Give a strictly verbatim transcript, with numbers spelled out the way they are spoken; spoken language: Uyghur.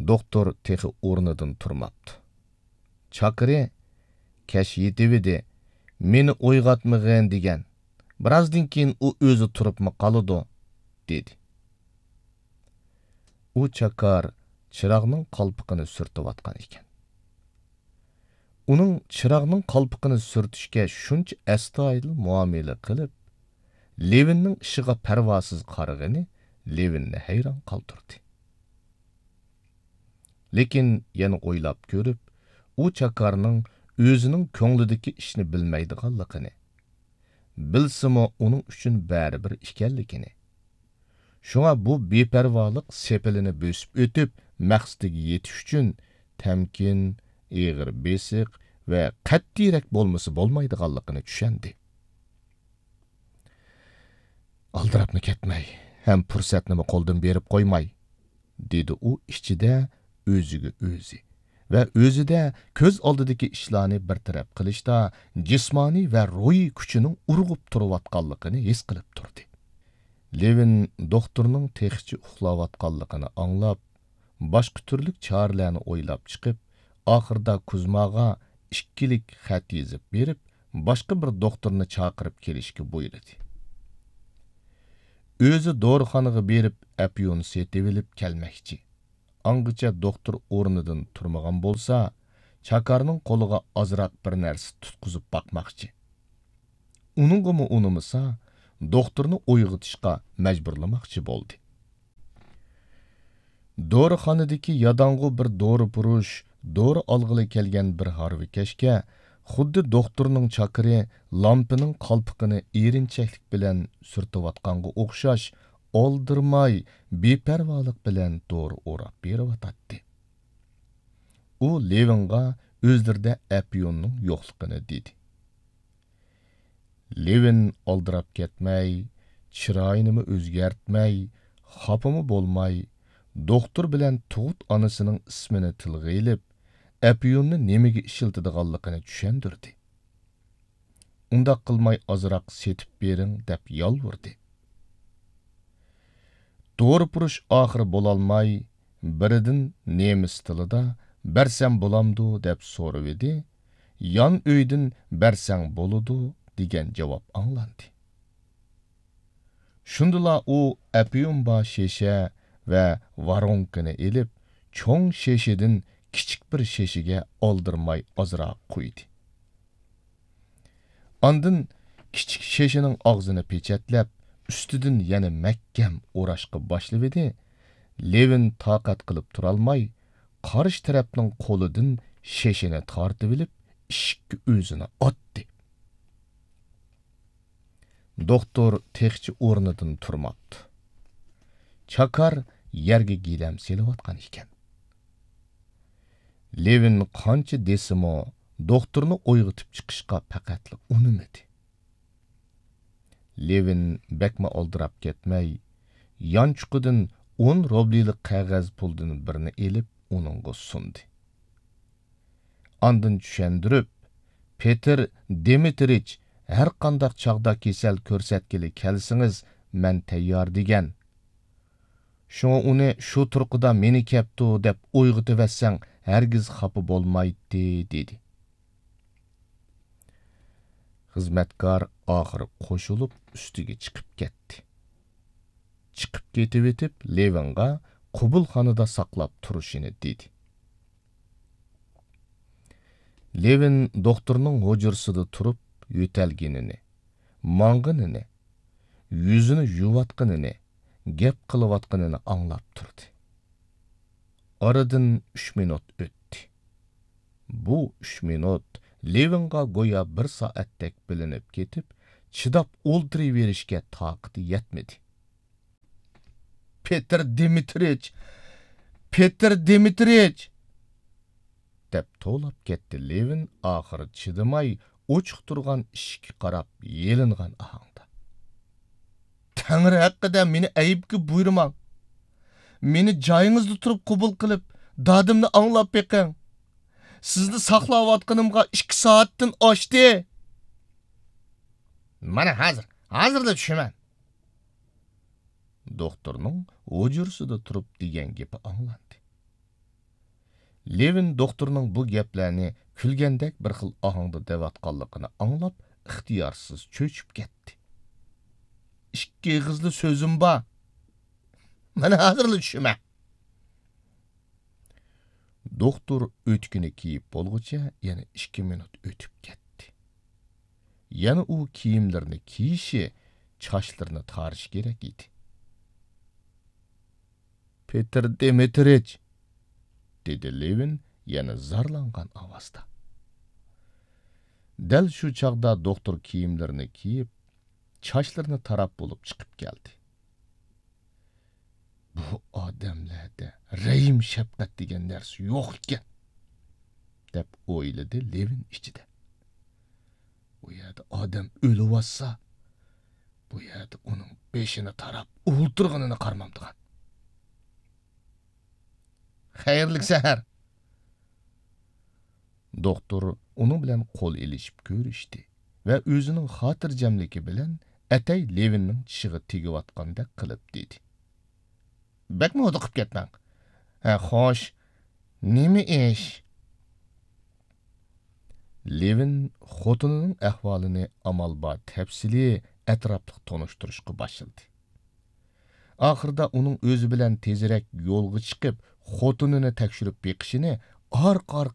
دوختۇر تېخى ئورنىدىن تۇرماپتۇ. چاكىرى، «كەچ يېتىۋىدى، مېنى ئويغاتمىغىن» دېگەن. بىرازدىن كېيىن ئۇ ئۆزى تۇرۇپمۇ قالىدۇ، دېدى. ئۇ چاكار چىراغنىڭ قالپىقىنى سۈرتۈۋاتقان ئىكەن. ئۇنىڭ چىراغنىڭ قالپىقىنى سۈرتۈشكە شۇنچە ئەستايىدىل مۇئامىلە قىلىپ، لېۋىننىڭ ئىشىغا پەرۋاسىز قارىغىنى لېۋىننى ھەيران قالدۇردى. لېكىن يەنە ئويلاپ كۆرۈپ، ئۇ چاكارنىڭ ئۆزىنىڭ كۆڭلىدىكى ئىشنى بىلمەيدىغانلىقىنى، بىلسىمۇ ئۇنىڭ ئۈچۈن بەرىبىر ئىكەنلىكىنى، شۇڭا بۇ بىپەرۋالىق سېپىلىنى بۆسۈپ ئۆتۈپ، مەقسىتىگە يېتىش ئۈچۈن تەمكىن، ئېغىر بېسىق ۋە قەتئىيرەك بولمىسا بولمايدىغانلىقىنى چۈشەندى. «ئالدىراپمۇ كەتمەي، ھەم پۇرسەتنىمۇ قولدىن بېرىپ قويماي»، دېدى ئۇ ئىچىدە ئۆزىگە ئۆزى ۋە ئۆزىدە كۆز ئالدىدىكى ئىشلارنى بىر تەرەپ قىلىشتا جىسمانىي ۋە روھىي كۈچىنىڭ ئۇرغۇپ تۇرۇۋاتقانلىقىنى ھېس قىلىپ تۇردى. لېۋىن دوختۇرنىڭ تېخىچە ئۇخلاۋاتقانلىقىنى ئاڭلاپ، باشقا تۈرلۈك چارىلەرنى ئويلاپ چىقىپ، ئاخىرىدا كۇزماغا ئىككىلىك خەت يېزىپ بېرىپ، باشقا بىر دوختۇرنى چاقىرىپ كېلىشكە بۇيرۇدى. ئۆزى دورىخانىغا بېرىپ، ئەپيۈن سېتىۋېلىپ كەلمەكچى. ئاڭغىچە دوختۇر ئورنىدىن تۇرمىغان بولسا، چاكارنىڭ قولىغا ئازراق بىر نەرسە تۇتقۇزۇپ باقماقچى. ئۇنىڭغىمۇ ئۇنىمىسا، دوختۇرنى ئويغىتىشقا مەجبۇرلىماقچى بولدى. دورىخانىدىكى ياداڭغۇ بىر دورىپۇرۇش دورا ئالغىلى كەلگەن بىر ھارۋىكەشكە خۇددى دوختۇرنىڭ چاكىرى لامپىنىڭ قالپىقىنى ئېرىنچەكلىك بىلەن سۈرتۈۋاتقانغا ئوخشاش، ئالدىرىماي، بىپەرۋالىق بىلەن دورا ئوراپ بېرىۋاتاتتى. ئۇ لېۋىنغا ئۆزلىرىدە ئەپيۈننىڭ يوقلۇقىنى دېدى. لېۋىن ئالدىراپ كەتمەي، چىرايىنىمۇ ئۆزگەرتمەي، خاپىمۇ بولماي، دوختۇر بىلەن تۇغۇت ئانىسىنىڭ ئىسمىنى تىلغا ئېلىپ، ئەپيۈننى نېمىگە ئىشلىتىدىغانلىقىنى چۈشەندۈردى. «ئۇنداق قىلماي ئازراق سېتىپ بېرىڭ» دەپ يالۋۇردى. دورىپۇرۇش ئاخىرى بولالماي، بىرىدىن نېمىس تىلىدا «بەرسەم بولامدۇ؟» دەپ سورىۋىدى، يان ئۆيدىن «بەرسەڭ بولىدۇ» دېگەن جاۋاب ئاڭلاندى. شۇندىلا ئۇ ئەپيۈن بار شېشە ۋە ۋارونكىنى ئېلىپ، چوڭ شېشىدىن كىچىك بىر شېشىگە ئالدىرىماي ئازراق قۇيدى. ئاندىن كىچىك شېشىنىڭ ئاغزىنى پېچەتلەپ، ئۈستىدىن يەنە مەھكەم ئوراشقا باشلىۋىدى. لېۋىن تاقەت قىلىپ تۇرالماي، قارشى تەرەپنىڭ قولىدىن شېشىنى تارتىۋېلىپ، ئىشىككە ئۆزىنى ئاتتى. دوختۇر تېخىچە ئورنىدىن تۇرماپتۇ. چاكار يەرگە گىلەم سېلىۋاتقان ئىكەن. لېۋىن قانچە دېسىمۇ، دوختۇرنى ئويغىتىپ چىقىشقا پەقەتلا ئۇنىمىدى. لېۋىن بەكمۇ ئالدىراپ كەتمەي، يانچۇقىدىن ئون روبلىلىق قەغەز پۇلدىن بىرنى ئېلىپ، ئۇنىڭغا سۇندى. ئاندىن چۈشەندۈرۈپ، «پېتىر دىمىترىچ، ھەر قانداق چاغدا كېسەل كۆرسەتكىلى كەلسىڭىز، مەن تەييار» دېگەن. شۇڭا ئۇنى «شۇ تۇرقىدا مېنى كەپتۇ» دەپ ئويغىتىۋەتسەڭ، ھەرگىز خاپا بولمايتتى، دېدى. خىزمەتكار ئاخىرى قوشۇلۇپ، ئۈستىگە چىقىپ كەتتى. چىقىپ كېتىۋېتىپ، لېۋىنغا قوبۇلخانىدا ساقلاپ تۇرۇشىنى دېدى. لېۋىن دوختۇرنىڭ ھۇجرىسىدا تۇرۇپ، يۆتەلگىنىنى، ماڭغىنىنى، يۈزىنى يۇيۇۋاتقىنىنى، گەپ قىلىۋاتقىنىنى ئاڭلاپ تۇردى. ئارىدىن ئۈچ مىنۇت ئۆتتى. بۇ ئۈچ مىنۇت لېۋىنغا گويا بىر سائەتتەك بىلىنىپ كېتىپ، چىداپ ئولتۇرۇۋېرىشكە تاقىتى يەتمىدى. «پېتىر دىمىترىچ! پېتىر دىمىترىچ!» دەپ توۋلاپ كەتتى لېۋىن ئاخىرى چىدىماي ئوچۇق تۇرغان ئىشىككە قاراپ يېلىنغان ئاھاڭدا. «تەڭرى ھەققىدە مېنى ئەيىبكە بۇيرۇماڭ. مېنى جايىڭىزدا تۇرۇپ قوبۇل قىلىپ، دادىمنى ئاڭلاپ بېقىڭ. سىزنى ساقلاۋاتقىنىمغا ئىككى سائەتتىن ئاشتى.» «مانا ھازىر، ھازىرلا چۈشىمەن.» دوختۇرنىڭ ھۇجرىسىدا تۇرۇپ دېگەن گېپى ئاڭلاندى. لېۋىن دوختۇرنىڭ بۇ گەپلەرنى كۈلگەندەك بىر خىل ئاھاڭدا دەۋاتقانلىقىنى ئاڭلاپ، ئىختىيارسىز چۆچۈپ كەتتى. «ئىككى ئېغىزلا سۆزۈم بار. مانا ھازىرلا چۈشىمەن.» دوختۇر ئۆتۈكىنى كىيىپ بولغۇچە يەنە ئىككى مىنۇت ئۆتۈپ كەتتى. يەنە ئۇ كىيىملىرىنى كىيىشى، چاچلىرىنى تارىشى كېرەك ئىدى. «پېتىر دىمىترىچ!» دېدى لېۋىن يەنە زارلانغان ئاۋازدا. دەل شۇ چاغدا دوختۇر كىيىملىرىنى كىيىپ، چاچلىرىنى تاراپ بولۇپ چىقىپ كەلدى. «بۇ ئادەملەردە رەھىم-شەپقەت دېگەن نەرسە يوق ئىكەن» دەپ ئويلىدى لېۋىن ئىچىدە. «ئۇ يەردە ئادەم ئۆلۈۋاتسا، بۇ يەردە ئۇنىڭ بېشىنى تاراپ ئولتۇرغىنىنى قارىمامدىغان.» «خەيرلىك سەھەر.» دوختۇر ئۇنىڭ بىلەن قول ئېلىشىپ كۆرۈشتى ۋە ئۆزىنىڭ خاتىرجەملىكى بىلەن ئەتەي لېۋىننىڭ چىشىغا تېگىۋاتقاندەك قىلىپ دېدى: «بەكمۇ ھودۇقۇپ كەتمەڭ. ھە، خوش، نېمە ئىش؟» لېۋىن خوتۇنىنىڭ ئەھۋالىنى ئامال بار تەپسىلىي، ئەتراپلىق تونۇشتۇرۇشقا باشلىدى. ئاخىرىدا ئۇنىڭ ئۆزى بىلەن تېزرەك يولغا چىقىپ، خوتۇنىنى تەكشۈرۈپ بېقىشىنى ئارقا-ئارقىدىن